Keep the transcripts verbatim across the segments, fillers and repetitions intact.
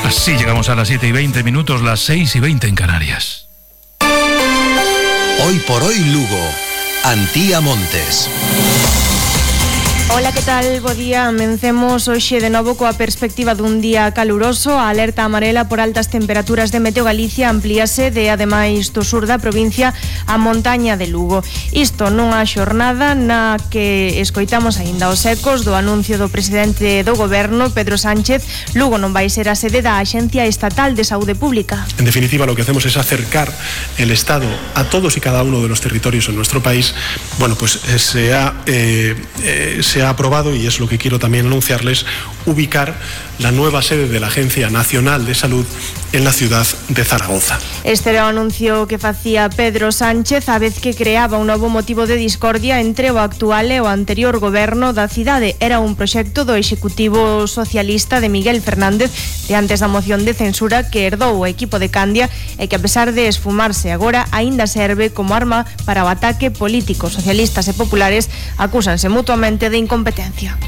Así llegamos a las siete y veinte minutos, las seis y veinte en Canarias. Hoy por hoy Lugo, Antía Montes. Ola, que tal? Bo día. Amencemos hoxe de novo coa perspectiva dun día caluroso. A alerta amarela por altas temperaturas de Meteo Galicia amplíase de, ademais do sur da provincia, a montaña de Lugo. Isto nunha xornada na que escoitamos aínda os ecos do anuncio do presidente do goberno, Pedro Sánchez. Lugo non vai ser a sede da Axencia Estatal de Saúde Pública. En definitiva, lo que hacemos es acercar el Estado a todos y cada uno de los territorios en nuestro país. Bueno, pues eh, se ha... Eh, eh, se ha aprobado, y es lo que quiero también anunciarles, ubicar la nueva sede de la Agencia Nacional de Salud en la ciudad de Zaragoza. Este era o anuncio que facía Pedro Sánchez a vez que creaba un novo motivo de discordia entre o actual e o anterior goberno da cidade. Era un proxecto do Executivo Socialista de Miguel Fernández de antes da moción de censura que herdou o equipo de Candia e que, a pesar de esfumarse agora, aínda serve como arma para o ataque político. Socialistas e populares acúsanse mutuamente de incompetencia.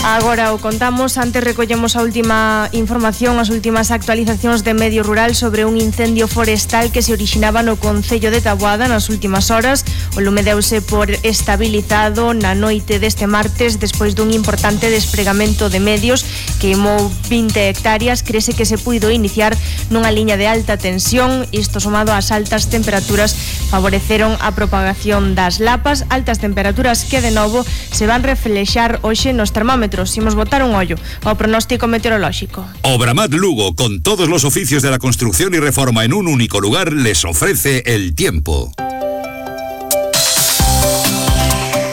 Agora o contamos, antes recollemos a última información, as últimas actualizacións de Medio Rural sobre un incendio forestal que se orixinaba no concello de Taboada nas últimas horas. O lume deuse por estabilizado na noite deste martes despois dun importante despregamento de medios. Queimou vinte hectáreas, crese que se puido iniciar nunha liña de alta tensión. Isto somado ás altas temperaturas favoreceron a propagación das lapas, altas temperaturas que de novo se van reflexar hoxe nos termómetros. Imos botar un ollo ao pronóstico meteorolóxico. Obramat Lugo, con todos los oficios de la construcción y reforma en un único lugar, les ofrece el tiempo.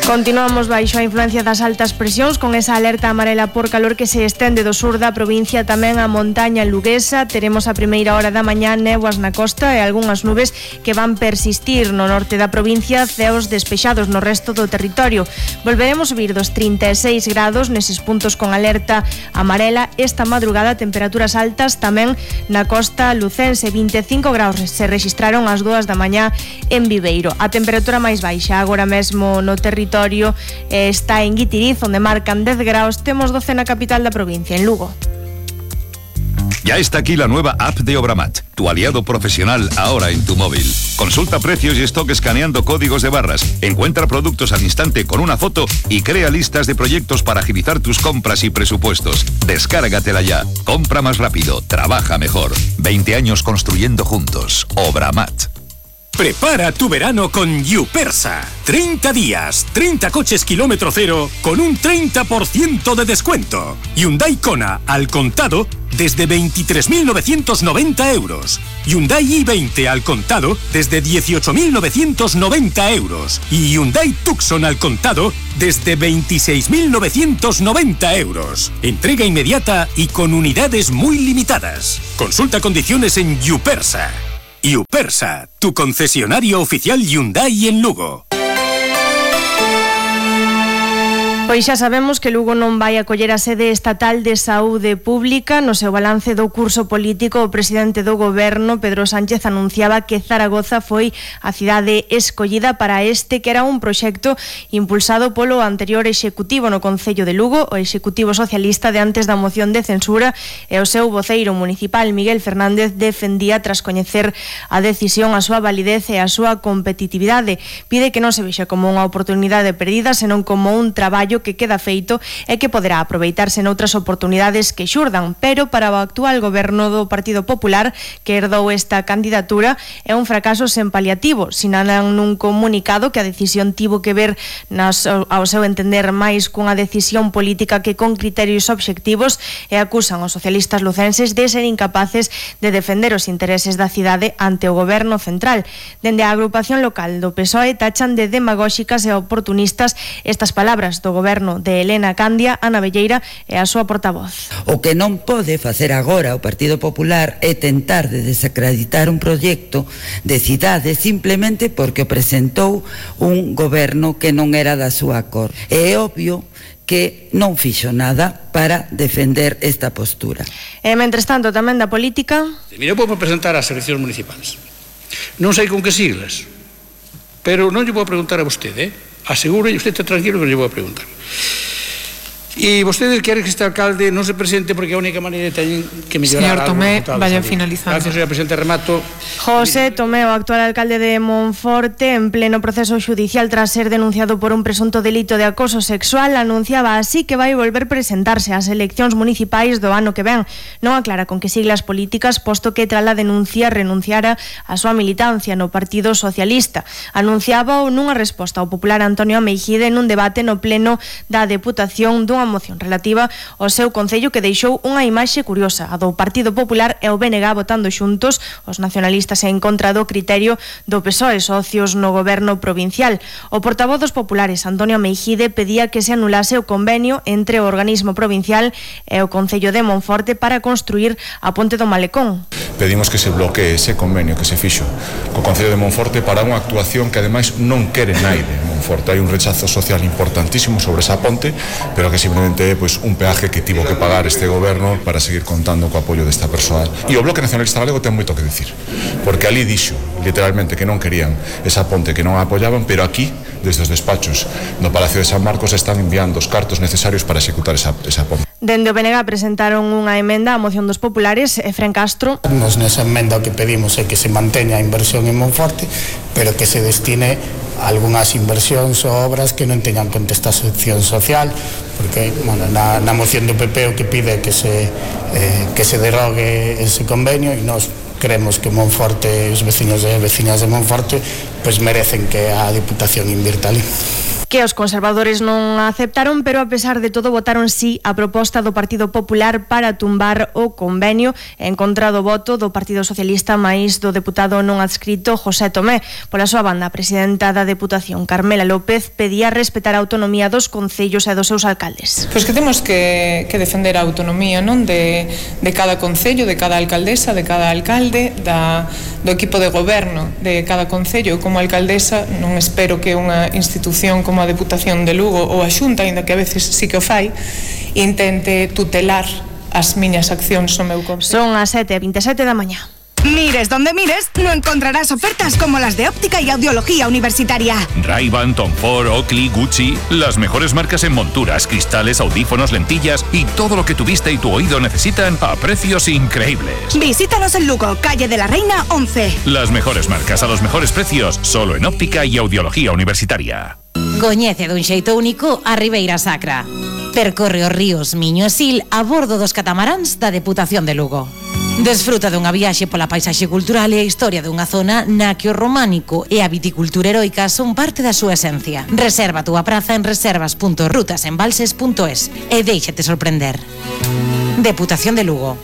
Continuamos baixo a influencia das altas presións con esa alerta amarela por calor que se estende do sur da provincia tamén a montaña luguesa. Teremos a primeira hora da mañá néboas na costa e algunhas nubes que van persistir no norte da provincia, ceos despexados no resto do territorio. Volveremos subir dos trinta e seis grados neses puntos con alerta amarela. Esta madrugada temperaturas altas tamén na costa lucense, vinte e cinco graus se registraron ás dúas da mañá en Viveiro. A temperatura máis baixa agora mesmo no territorio está en Guitiriz, onde marcan dez graus. Temos doce na capital da provincia, en Lugo. Ya está aquí la nueva app de Obramat, tu aliado profesional ahora en tu móvil. Consulta precios y stock escaneando códigos de barras, encuentra productos al instante con una foto y crea listas de proyectos para agilizar tus compras y presupuestos. Descárgatela ya. Compra más rápido, trabaja mejor. veinte años construyendo juntos. Obramat. Prepara tu verano con Yupersa. treinta días, treinta coches kilómetro cero con un treinta por ciento de descuento. Hyundai Kona al contado desde veintitrés mil novecientos noventa euros. Hyundai i veinte al contado desde dieciocho mil novecientos noventa euros. Y Hyundai Tucson al contado desde veintiséis mil novecientos noventa euros. Entrega inmediata y con unidades muy limitadas. Consulta condiciones en Yupersa. Yupersa, tu concesionario oficial Hyundai en Lugo. Pois xa sabemos que Lugo non vai acoller a sede estatal de saúde pública. No seu balance do curso político, o presidente do goberno, Pedro Sánchez, anunciaba que Zaragoza foi a cidade escollida para este, que era un proxecto impulsado polo anterior executivo no concello de Lugo, o executivo socialista de antes da moción de censura, e o seu voceiro municipal, Miguel Fernández, defendía tras coñecer a decisión a súa validez e a súa competitividade. Pide que non se vexa como unha oportunidade perdida, senón como un traballo que queda feito e que poderá aproveitarse noutras oportunidades que xurdan, pero para o actual goberno do Partido Popular, que herdou esta candidatura, é un fracaso sen paliativo. Sinalan nun comunicado que a decisión tivo que ver nas, ao seu entender máis cunha decisión política que con criterios obxectivos, e acusan os socialistas lucenses de ser incapaces de defender os intereses da cidade ante o goberno central. Dende a agrupación local do P S O E tachan de demagóxicas e oportunistas estas palabras do goberno de Elena Candia, Ana Velleira e a súa portavoz. O que non pode facer agora o Partido Popular é tentar de desacreditar un proxecto de cidade simplemente porque o presentou un goberno que non era da súa cor. É obvio que non fixo nada para defender esta postura. E, mentres tanto, tamén da política... Mira, eu vou presentar as eleccións municipais. Non sei con que siglas, pero non lle vou preguntar a vostede, eh? Aseguro, e usted está tranquilo que lle vou a preguntar. E vostedes queren que este alcalde non se presente porque a única maneira teñen que mellorar. Señor Tomé, vaya finalizando. Gracias, señor presidente, remato. José Tomé, o actual alcalde de Monforte, en pleno proceso judicial tras ser denunciado por un presunto delito de acoso sexual, anunciaba así que vai volver presentarse ás eleccións municipais do ano que ven. Non aclara con que siglas políticas, posto que tras a denuncia renunciara a súa militancia no Partido Socialista. Anunciaba nunha resposta ao popular Antonio Ameijide nun debate no pleno da Deputación dunha moción relativa ao seu concello que deixou unha imaxe curiosa, a do Partido Popular e o B N G votando xuntos, os nacionalistas en contra do criterio do P S O E, socios no goberno provincial. O portavoz dos populares, Antonio Ameijide, pedía que se anulase o convenio entre o organismo provincial e o Concello de Monforte para construir a Ponte do Malecón. Pedimos que se bloquee ese convenio que se fixo co Concello de Monforte para unha actuación que ademais non quere naide Monforte. Hai un rechazo social importantísimo sobre esa ponte, pero que simplemente é pois, un peaje que tivo que pagar este goberno para seguir contando co apoio desta persoa. E o Bloque Nacionalista Galego ten moito que dicir, porque ali dixo literalmente que non querían esa ponte, que non a apoyaban, pero aquí, desde os despachos no Palacio de San Marcos, están enviando os cartos necesarios para executar esa, esa ponte. Dende o B N G presentaron unha emenda á moción dos populares. Efren Castro. Nos nesa emenda o que pedimos é que se manteña a inversión en Monforte, pero que se destine algunhas inversións ou obras que non teñan contestación social, porque bueno, na, na moción do P P o que pide é que se, eh, que se derrogue ese convenio, e nós creemos que Monforte, os veciños e veciñas de Monforte, pois merecen que a Diputación invirta ali. Que os conservadores non aceptaron, pero a pesar de todo votaron sí a proposta do Partido Popular para tumbar o convenio, en contra do voto do Partido Socialista máis do deputado non adscrito José Tomé. Pola súa banda, a presidenta da Deputación, Carmela López, pedía respetar a autonomía dos concellos e dos seus alcaldes. Pois que temos que, que defender a autonomía, non, de, de cada concello, de cada alcaldesa, de cada alcalde, da, do equipo de goberno de cada concello. Como alcaldesa non espero que unha institución como a Deputación de Lugo ou a Xunta, aínda que a veces sí que o fai, intente tutelar as miñas accións no meu concello. Son as sete e vinte e sete da mañá. Mires donde mires, no encontrarás ofertas como las de óptica y audiología universitaria. Ray-Ban, Tom Ford, Oakley, Gucci, las mejores marcas en monturas, cristales, audífonos, lentillas y todo lo que tu vista y tu oído necesitan a precios increíbles. Visítanos en Lugo, calle de la Reina once. Las mejores marcas a los mejores precios, solo en óptica y audiología universitaria. Coñece dun xeito único a Ribeira Sacra. Percorre os ríos Miño e Sil a bordo dos catamaráns da Deputación de Lugo. Desfruta dunha viaxe pola paisaxe cultural e a historia dunha zona na que o románico e a viticultura heroica son parte da súa esencia. Reserva a túa praza en reservas punto rutasembalses punto es e déixate sorprender. Deputación de Lugo.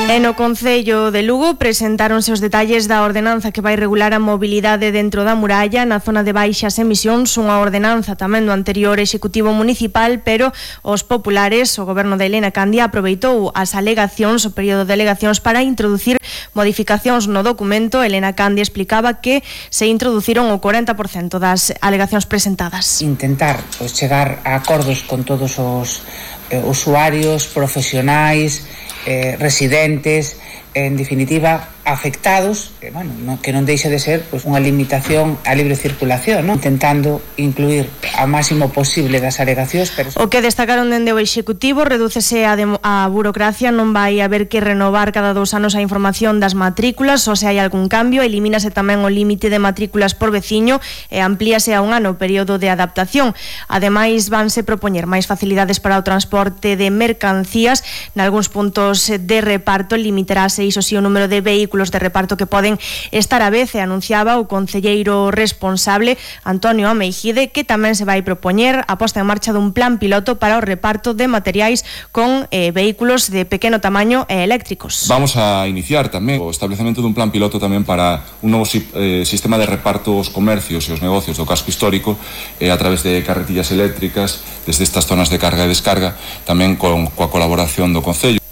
E no Concello de Lugo presentáronse os detalles da ordenanza que vai regular a mobilidade dentro da muralla na zona de baixas emisións, unha ordenanza tamén do anterior Executivo Municipal, pero os populares, o goberno de Elena Candia, aproveitou as alegacións, o período de alegacións para introducir modificacións no documento. Elena Candia explicaba que se introduciron o cuarenta por cento das alegacións presentadas. Intentar pues, chegar a acordos con todos os eh, usuarios, profesionais, Eh, residentes, en definitiva afectados, que, bueno, no, que non deixe de ser pues, unha limitación á libre circulación, ¿no? Intentando incluir ao máximo posible das alegacións. Pero... O que destacaron dende o Executivo, redúcese a, a burocracia, non vai haber que renovar cada dous anos a información das matrículas, ou se hai algún cambio, elimínase tamén o límite de matrículas por veciño e amplíase a un ano o período de adaptación. Ademais, vanse propoñer máis facilidades para o transporte de mercancías, nalgúns puntos de reparto limitarase iso si o número de vehículos de reparto que poden estar a vez, e anunciaba o concelleiro responsable Antonio Ameijide que tamén se vai propoñer a posta en marcha dun plan piloto para o reparto de materiais con eh, vehículos de pequeno tamaño e eléctricos. Vamos a iniciar tamén o establecemento dun plan piloto tamén para un novo eh, sistema de reparto aos comercios e os negocios do casco histórico eh, a través de carretillas eléctricas desde estas zonas de carga e descarga, tamén con coa colaboración do Concello.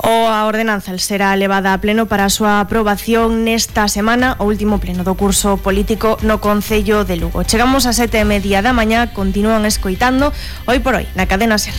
O a ordenanza será levada a pleno para a súa aprobación nesta semana, o último pleno do curso político no Concello de Lugo. Chegamos a sete e media da mañá, continúan escoitando Hoy por Hoy na cadena SER.